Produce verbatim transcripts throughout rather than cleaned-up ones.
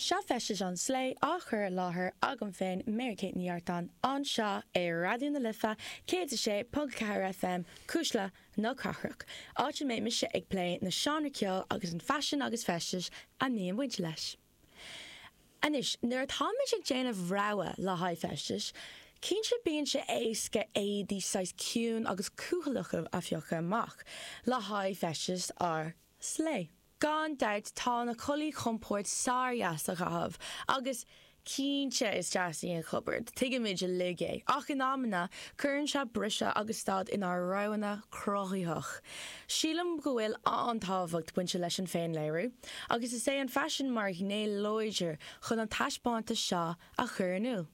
Seo Feistis an Slay á chur i láthair agam féin Mary Kate Ní Artáin anseo ar Raidió na Life céad a sé ponc ceathair FM Cuisle na Cathrach, áit a mbeidh mise ag plé na seánra ceoil agus an faisean agus feistis a mbíonn baint leis. Anois, nuair atáimid ag déanamh rogha le haghaidh feistis, cinnte bíonn sé éasca éadaí saghas ciúin agus cúthaileach a phiocadh amach le haghaidh feistis ár slay. Gan dabht tá na culaith chompord sár-dheas a chaitheamh agus cinnte is deas í an chupard, tuigimid uilig é, ach in amanna cuireann sé briseadh agus stad inár roghanna cruthaitheach. Sílim go bhfuil an-tábhacht bainte leis an féinléiriú, agus is é an faisean mar ghné láidir chun an taispeántas seo a chur in iúl.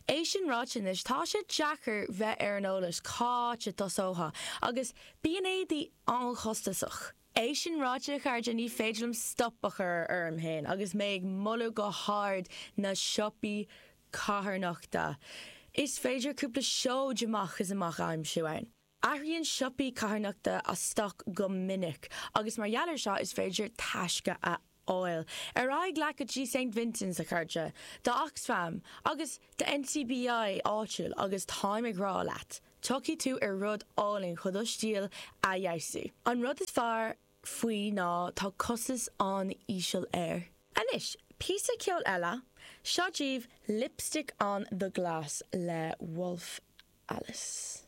É sin ráite anois tá sé deacair bheith ar an eolas cá háit a dtosófá agus bíonn éadaí an-chostasach. É sin ráite a chairde ní féidir liom stop a chur orm féin agus mé ag moladh go hard na siopaí carthanachta. Is féidir cúpla seoid amach is amach a aimsiú ann. Athraíonn siopaí carthanachta a stoc go minic agus mar gheall air seo is féidir taisce a fháil. Ar aghaidh leat go dtí St Vincent's a chairde, do Oxfam agus do NCBI áitiúil agus táim ag rá leat. Tiocfaidh tú ar rud álainn chun do stíl a fheabhsú. An rud is fearr faoi ná tá costas an-íseal air. Anois, píosa ceoil eile, seo daoibh Lipstick on the Glass le Wolf Alice.